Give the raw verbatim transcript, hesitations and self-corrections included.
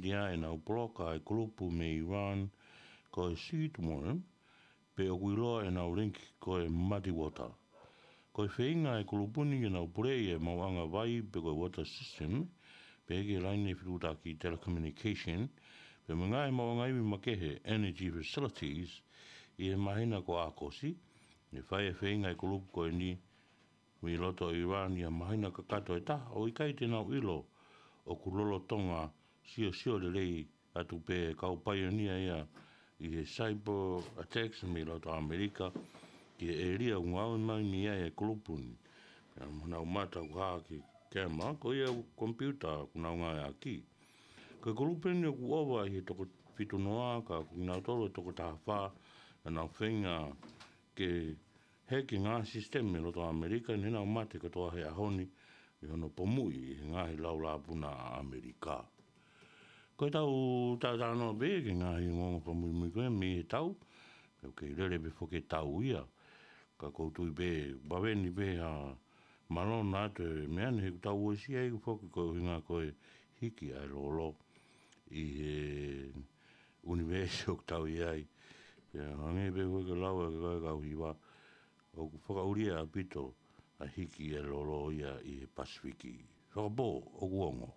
ia ʻenau poloka e kulupu mei Iran ko e Seedworm, pe ʻoku ʻiloa ʻenau link ko e Muddy Water. Ko e feinga e kulupu ni ke nau puleʻi e maʻuʻanga vai pe ko e water system, pe ki he laine fetuʻutaki telecommunication, pe mo e ngaahi maʻuʻanga ivi makehe energy facilities, ʻi he māhina ko ʻAokosi. Ne fai e feinga e kulupu ko eni mei loto Iran ʻi ha māhina kakato ʻe taha, ʻo ʻikai te nau ʻilo ʻoku lolotonga siosio lelei atu pē kau paionia ia ʻi he cyber attacks mei loto ʻAmelika ki he ʻēlia ʻoku ngāue mai mei ai e kulupu ni. Pea mo nau mata ʻoku hā ki he camera, ko ia ʻoku komipiuta ʻoku nau ngāueʻaki. Ko e kulupu ni ʻoku ʻova ʻi he toko fitu noa, ka ko kinautolu e toko taha fā, ʻa nau feinga ke heki e ngaahi sisitemi mei loto ʻAmelika, ne nau mate kotoa he ʻaho ni ʻi hono pomuʻi ʻe he ngaahi laulāpuna ʻa ʻAmelika. Ko e tau talanoa pē ki he ngaahi ongoongo fakamuimui ko ia mei he tau, pea ʻoku kei lele pē foki e tau ia. Ka ʻoku ou tui pē, vave ni pē ha malona atu e meʻa ni he ʻoku tau uesia ʻi he foki ko e ʻuhinga ko e hiki ʻa e lolo ʻi he ʻunivēsi ʻoku tau ʻi ai. Pea hangē pē ko e lau ʻa e kakai kau hiva, ʻoku fakaʻulia ʻaupito ʻa e hiki ʻa e lolo ia ʻi he Pasifiki. Fakapō, ʻoku ongo.